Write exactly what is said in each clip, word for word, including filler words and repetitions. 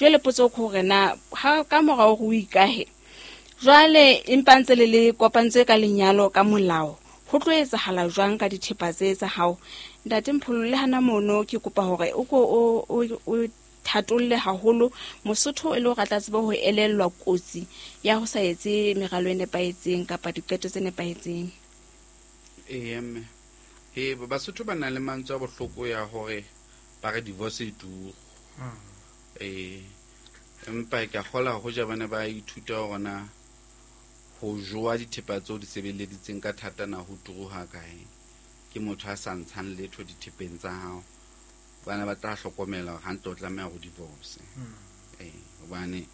Jwale potso ke hore na ha ka mora hore o ikahe jwale empa ntse le le kopantswe ka lenyalo ka molao, ho tlo etsahala jwang ka dithepa tse tsa hao? Ntate Mpholo, le hana mono ke kopa hore o ko o o thatolle haholo Mosotho e le hore a tla tseba ho elellwa kotsi ya ho sa etse meralo e nepahetseng kapa diqeto tse nepahetseng. Ee mme, he Basotho ba na le mantswe a bohloko ya hore ba re divorce e turu. Ee, empa ke a kgola hoja ba ne ba ithuta hore na ho jowa dithepa tseo di sebeleditseng ka thata na ho turu ha kae. Ke motho a sa ntshang letho dithepeng tsa hao, bana ba tla hlokomela hore hantle o tlameha ho divorce. Ee, hobane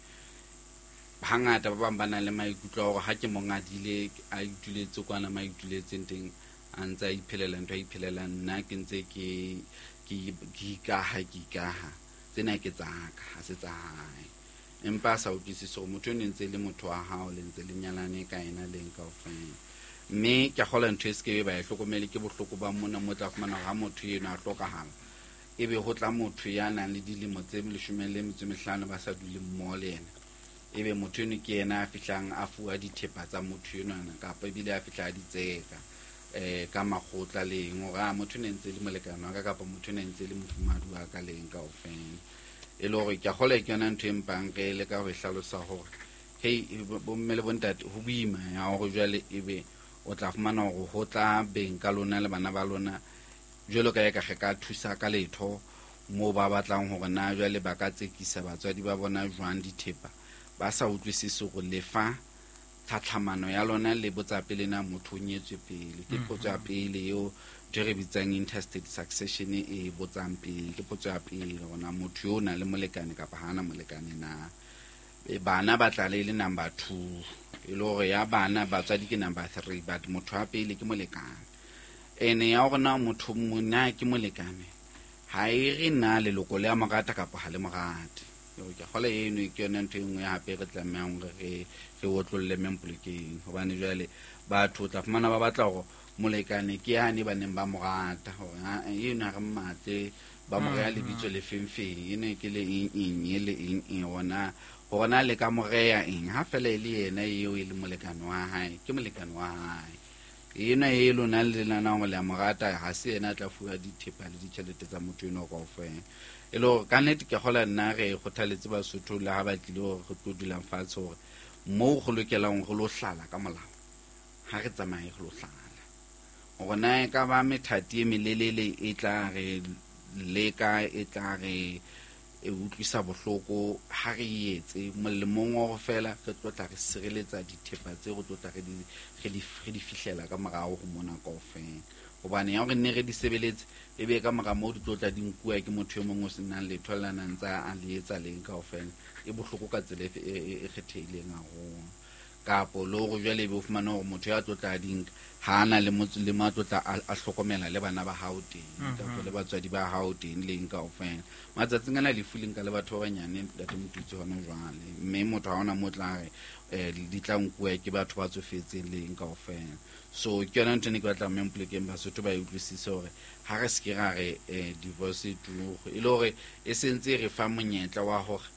hangata ba bang ba na le maikutlo a hore ha ke mo ngadile a ituletse kwana ma ituletseng teng, a ntse a iphelela ntho a iphelelang, nna ke ntse ke ke ke ikaha ke ikaha tsena ke tsa ka, ha se tsa hae. Empa a sa utlwisise hore motho eno ntse e le motho wa hao, le ntse le nyalane ka ena leng kaofela. Mme ke a kgolwa ntho e se ke ba e hlokomele ke bohloko ba mona mo tla fumana hore ha motho eno a hlokahala, ebe ho tla motho ya nang le dilemo tse leshome le metso e mehlano ba sa dule mmoho le yena, ebe motho eno ke yena a fihlang a fuwa dithepa tsa motho enwana, kapa ebile a fihla a di tseka eh ka makgotla le eng, hore a motho ne ntse le molekane wa ka kapa motho ne ntse le mofumahadi wa ka le eng kaofela. E le hore ke a kgolwa ke yona ntho e mpang re leka ho e hlalosa hore hei bomme le bontate ho boima ya hore jwale ebe o tla fumana hore ho tla beng ka lona le bana ba lona jwalo ka eka re ka thusa ka letho moo ba batlang hore na jwale ba ka tsekisa batswadi ba bona jwang dithepa, ba sa utlwisise hore lefa tlhatlhamano ya lona le botsa pele na motho o nyetswe pele. Ke potso ya pele eo ntho e re bitsang intestate succession e botsang pele, ke potso ya pele hore na motho yo o na le molekane kapa ha ana molekane na. E bana ba tla le le number two, e le hore ya bana batswadi ke number three, but motho wa pele ke molekane. Ene ya hore na motho mona ke molekane ha e re na leloko le a mo rata kapa ha le mo rate. Ke kgola eno ke yona ntho e nngwe hape re tlamehang hore re re otlolle mempolokeng, hobane jwale batho o tla fumana ba batla hore molekane ke yane ba neng ba mo rata, hore ha eno ha re mmatle ba mo reha lebitso le feng feng, ene ke le eng eng e le eng eng, hona hore na le ka mo reha eng ha fela e le yena eo e le molekane wa hae, ke molekane wa hae. Ena e lona le nana hore le a mo rata, ha se yena a tla fuwa dithepa le ditjhelete tsa motho eno kaofela. E le hore ka nnete ke kgolwa nna re kgothaletse Basotho le ha ba tlile hore re tlo dulang fatshe hore moo go lokelang re lo hlala ka molao, ha re tsamaye re lo hlala. Hore na e ka ba methati e melelele e tla re leka, e tla re e utlwisa bohloko, ha re e etse molemong wa hore fela re tlo tla re sireletsa dithepa tse re tlo tla re di, re di, re di fihlela ka morao ho mona kaofela. Hobane ya hore nne re di sebeletse e be ka mora moo di tlo tla di nkuwa ke motho e mong o senang letho le nang tsa a le etsa leng kaofela, e bohloko ka tsela e, e, e, e kgethehileng haholo. Kapo le hore jwale ebe o fumane hore motho ya tlo tla di nka ha ana le motse le mo a tlo tla a, a hlokomela le bana ba hao teng, Mhm. kapa le batswadi ba hao teng le eng kaofela. Matsatsing ana lefu le nka le batho ba banyane ntate Motutsi hona jwale, mme motho ha hona mo tla re, eh, di tla nkuwa ke batho ba tsofetseng le eng kaofela. So ke yona ntho e ne ke batla mme mpolokeng Basotho ba e utlwisise hore ha re se ke ra re, eh, divorce e turu, e le hore e sentse e re fa monyetla wa hore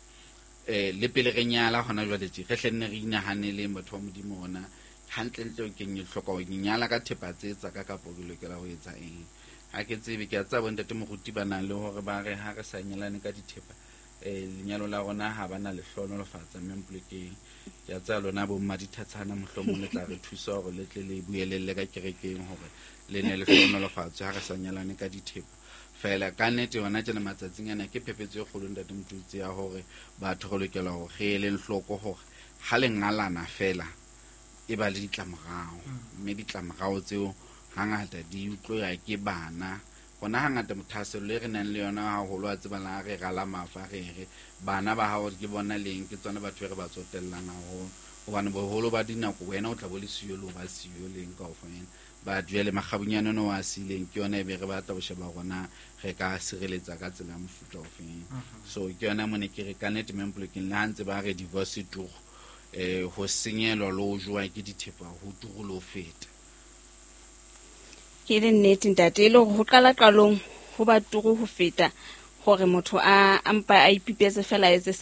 eh, le pele re nyala hona jwale tje, re hle nne re inahaneleng batho ba Modimo hona hantlentle ke eng e hloka hore ke nyala ka thepa tse tsa ka kapa ke lokela ho etsa eng. Ha ke tsebe, ke a tseba bontate moruti ba nang le hore ba re ha re sa nyalane ka dithepa, eh, lenyalo la rona ha ba na lehlohonolofatsa mme mpolokeng. Ke a tseba lona bo mmadithatshana mohlomong le tla re thusa hore le tle le buelelle ka kerekeng hore le ne le hlohonolofatswe ha re sa nyalane ka dithepa. Fela ka nnete hona tjena matsatsing ana ke phephetso e kgolo ntate Motutsi ya hore batho re lokela hore re eleng hloko hore ha le ngalana fela e ba le ditlamorao, Mm. mme ditlamorao tseo hangata di utlwa ke bana. Hona hangata thahasello e re nang le yona haholo wa tseba la re rala mafa re re bana ba hao ke bona leng, ke tsona batho be re ba tsotellang haholo, hobane boholo ba dinako wena o tla bo le siyo le ho ba siyo leng kaofela. Ba jwale makgabunyane ono wa sileng ke yona e be re batla ho sheba hore na re ka sireletsa ka tsela ya mofuta ofeng. Mhm. So ke yona mone ke re ka nnete mempolokeng le ha ntse ba re divorce turu, eh, ho senyelwa le ho jowa ke dithepa ho turu le ho feta. Ke le nnete ntate, e le hore ho qala qalong ho ba turu ho feta hore motho a, a mpa a ipipetse fela a etse